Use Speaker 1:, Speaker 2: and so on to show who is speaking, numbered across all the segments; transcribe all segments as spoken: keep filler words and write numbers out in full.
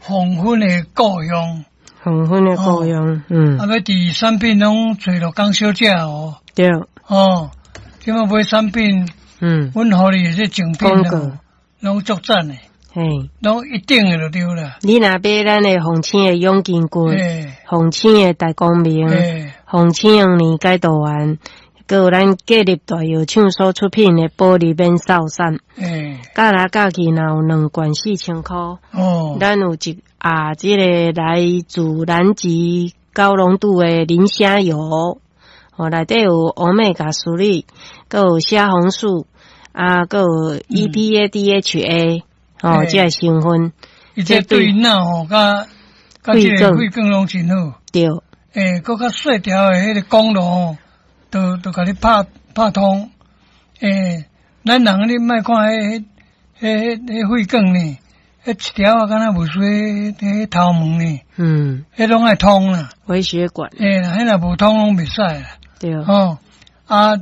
Speaker 1: 黃昏的故鄉。
Speaker 2: 黃昏的故鄉，嗯。
Speaker 1: 啊，欲佇產品攏揣陸江小姐哦。
Speaker 2: 對。
Speaker 1: 哦，這擺買產品，
Speaker 2: 嗯，
Speaker 1: 阮予你的這贈品攏攏足讚的，
Speaker 2: 嘿，
Speaker 1: 攏一定的就對啦。
Speaker 2: 你若買咱的鳳青的養筋骨，鳳青的大光明，鳳青黃連解毒丸，閣有咱建立大藥廠所出品的保利免掃散，加來加去，若有兩罐四千箍。
Speaker 1: 哦，
Speaker 2: 咱有一啊，這个來自南極高濃度的磷蝦油，哦，內底有 Omega three，閣有蝦紅素，啊，閣有 E P A、D H A，哦，這个成分。
Speaker 1: 伊這對腦吼，佮佮這个血管攏真好。
Speaker 2: 對。
Speaker 1: 欸，閣較細條的彼个管路吼，都都共你拍拍通。欸，咱人你莫看彼彼彼彼血管呢，彼一條仔敢若無需彼頭毛呢。
Speaker 2: 嗯。
Speaker 1: 彼攏愛通啦。
Speaker 2: 微血管。
Speaker 1: 欸，彼若無通攏袂使啦。
Speaker 2: 對。
Speaker 1: 吼，啊，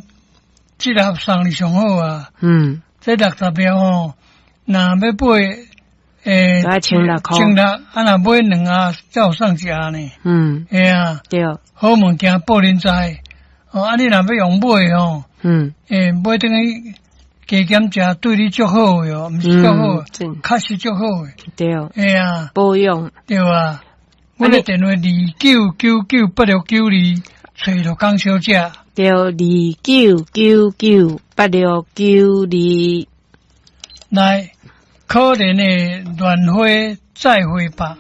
Speaker 1: 這粒送你上好啊。
Speaker 2: 嗯。
Speaker 1: 這六十粒吼，若欲買，欸，
Speaker 2: 千六箍。
Speaker 1: 千六，啊，若買兩盒，才有送一盒呢。
Speaker 2: 嗯。
Speaker 1: 嘿啊。
Speaker 2: 對。
Speaker 1: 好物件報恁知。哦，啊，你若欲用買吼，
Speaker 2: 嗯。
Speaker 1: 欸，買轉去加減食，對你足好的哦，毋是足好，確實足好的。
Speaker 2: 對。
Speaker 1: 嘿啊。
Speaker 2: 保養。
Speaker 1: 對啊。阮的電話二九九九八六九二，揣陸江小姐。
Speaker 2: 對，二九九九八六九二。
Speaker 1: 來，可憐的戀花再會吧。